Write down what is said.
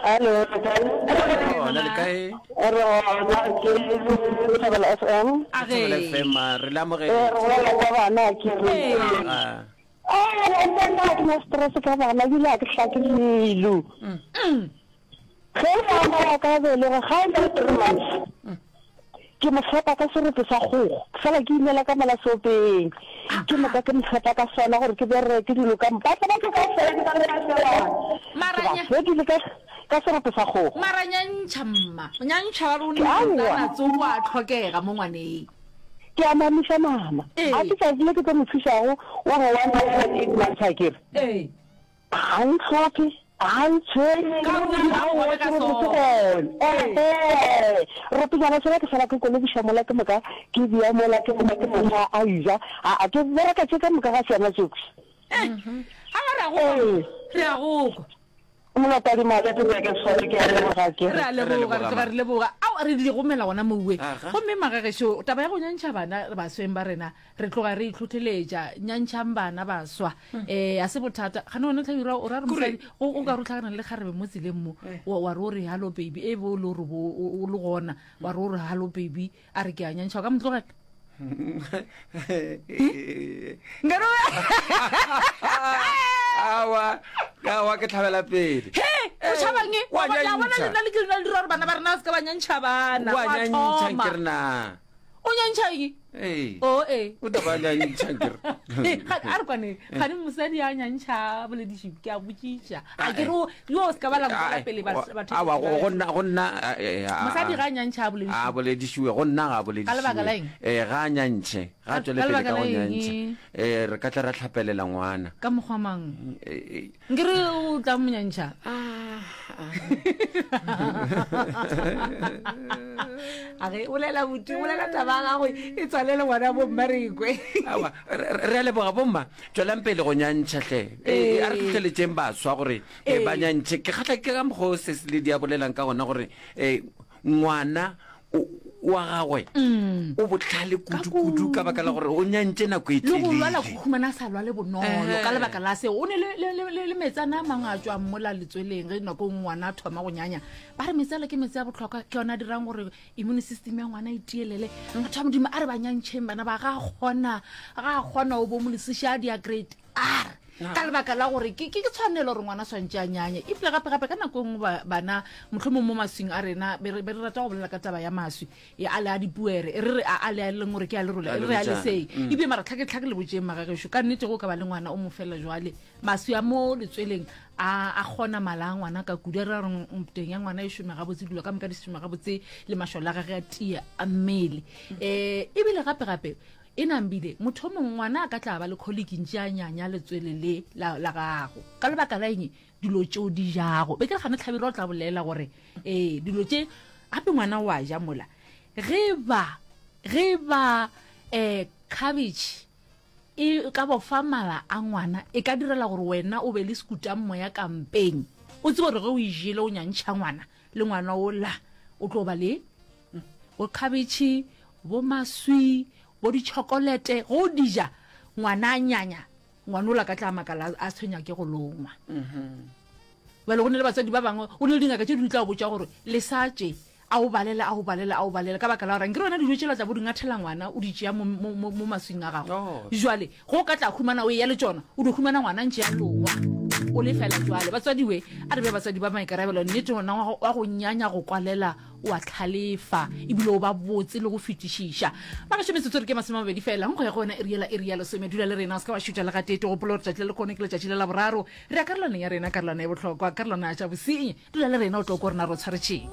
Hallo, le kae? Gona le kae? Re gona ke Thobela FM. A ge. Thobela FM a re le Eh, amogetše. re bolela ka bana ke re. Ah. Eh, nna ga ke na stress ka bana ebile ga ke hlake dilo. Ge ngwana wa ka a belegwe ga e le three months ke mo fepa ka serope sa kgogo ke sala ke inela ka mola seopeng ke moka ke mo fepa ka sona gore ke bereke dilo ka moka batla batho kaofela ke ba re ba shebana Mara ke ba nya- fedile ka ka serope sa kgogo mara nyantšha mma nyantšha ba Ke aowa. rona tsoko a tlhokega mo ngwaneng ke a mamiša mama Ee. a ke tsatsi le ke tlo mo thušago wa go one month and eight months a kere ee Ga ntlhophe, ga ntshwenye, Ka gore o dira aowa bogobe ke ka robetse sona. gona. Ehe, ropenyana sela ke sala ke kolobiša mola ke moka ke bea mola ke moka ke mo fa a ja. Aa ke bereka tše ka moka ga sona tšohle. Eh, aowa re a go kwa, Ee. re a go kwa. Molotadimale ke nyake sone ke a leboga ke Re a Re leboga, re leboga, tloga ma. re leboga. Ao re di gomela gona mowe. Aga. Gomme magagešo, taba ya go nyantšha bana basweng ba rena, Re tloga re itlhohleletša. Nyantšhang bana baswa. Um a se bothata. Gane wena Hlabirwa o ra re mosadi o o ka re o hlakana le kgarebe mo tseleng mo wa wa re o re hallo baby e be o le gore bo o o le gona wa re o re hallo baby a re ke a nyantšha o ka mo tlogela? Nkare o Aowa, aowa ke hlabela pele. He, o tšhabang e? Wa Wa bona nyantšha. lena le ke lena le dira gore bana ba rena ba se ka ba nyantšha bana. Wa Wa nyantšha thoma. nke re na. O nyantšha eng? Ee. O ee. O tla ba nyantšha ke re. Ee, ga- a re kwane gane mosadi a nyantšha bolediši ke a botšiša a ke re o- yo o se ka ba la nkwela pele ba- batho Awa go go nna go nna eh, eh, a- mosadi ga a nyantšha a a bolediši boledišiwe go nna ga a Ka lebaka la boledišiwe eng? eh ga a nyantšhe ga a Ka- tšwele ka pele lebaka ka la go eng? nyantšha eh re ka tla ra hlapelela ngwana ka mokgwa mang Eh, eh, Nkere o tla mo nyantšha. A ge bolela buti, bolela taba ya gago e tswalele ngwana bomma re ikwe. Aowa, re re a leboga bomma, tšwelang pele go nyantšha hle. Eh, a re hlohleletšeng baswa gore eh, ba nyantšhe. Ke kgahla ke ka mokgwa o Sesi Lady a bolelang ka gona gore eh, ngwana wa gagwe o bohlale kudu-kudu ka baka la gore o nyantše nako e le go lwala telele. go humana a sa lwale bonolo ka lebaka la seo. O ne le, le, le, le, le metsana a mangwe a tšwang mola letsweleng ge nako e nngwe ngwana a thoma go nyanya. Ba re metsi ale ke metsi a bohlokwa, ke yona a dirang gore immune system ya ngwana e tielele. Batho ba Modimo a re ba nyantšheng bana ba, ga a kgona, ga a kgona o bo mo lesiša a dia grade R ka lebaka la gore ke ke tshwanelo gore ngwana swantše a nyanye. Ebile gape gape ka nako e nngwe bana mohlomong mo maswing a rena be re be re rata go bolela ka taba ya maswi e a le a dipuere e re re a a le a leng gore ke a lerole A e re re a lerojana. lesei ebile mara tlhaketlhake le botšeng magagešo ka nnete go ka ba le ngwana o mo fela jwale maswi a mo letsweleng a a kgona mala a ngwana ka kudu a re re teng ya ngwana e šome gabotse dilo ka moka di šome gabotse le mašole a gage a tie a mmele um ebile gape gape E nambile, motho o mongwe ngwana a ka tla ba le kholiki ntše a nyanya letswele le la, la gago. Ka lebaka la eng? Dilo tše o di jago. Be ke re gane Hlabirwa o tla bolela gore, ee, dilo tše, gape ngwana o a ja mola. Ge ba, ge ba, eh, cabbage e ka bofa mala a ngwana, e ka direla gore wena o be le sekutammoya ka mpeng. O tsebe gore ge o e jele o nyantšha ngwana, le ngwana ola o tlo ba le bo khabetšhe, bo maswi, bo ditšhokolete, ge o di ja, ngwana a nyanya, ngwana ola ka tla makala a tshwenya ke go longwa. Bjale go ne le batswadi ba bangwe, go ne le dingaka tše di tla go botša gore lesa tše, a o balele, a o balele, a o balele, ka baka la gore ankere wena dijo tšela tla bo di ngathela ngwana, o di tšea mo, mo, mo, mo maswing a gago. Oh. Jwale ge o ka tla humana o eya le tšona, o dio humana ngwana ntše a longwa, o lefela. Jwale batswadi we, a re be batswadi ba maikarabelo, nnete ngwana wa go, wa go nyanya go kwalela o a hlalefa ebile o ba botse le go fetišiša. Magašo metsotso re ke 20 fela go ya go yona iri yela iri ya lesome. Dula le rena o se ka wa šutha le gatee. Gopola gore tšatši la lekgono ke letšatši la Laboraro. Re ya karolwaneng ya rena, karolwana e bohlokwa, karolwana ya tša bosenyi. Dula le rena o tlo kwa rena re o tshwaretšeng.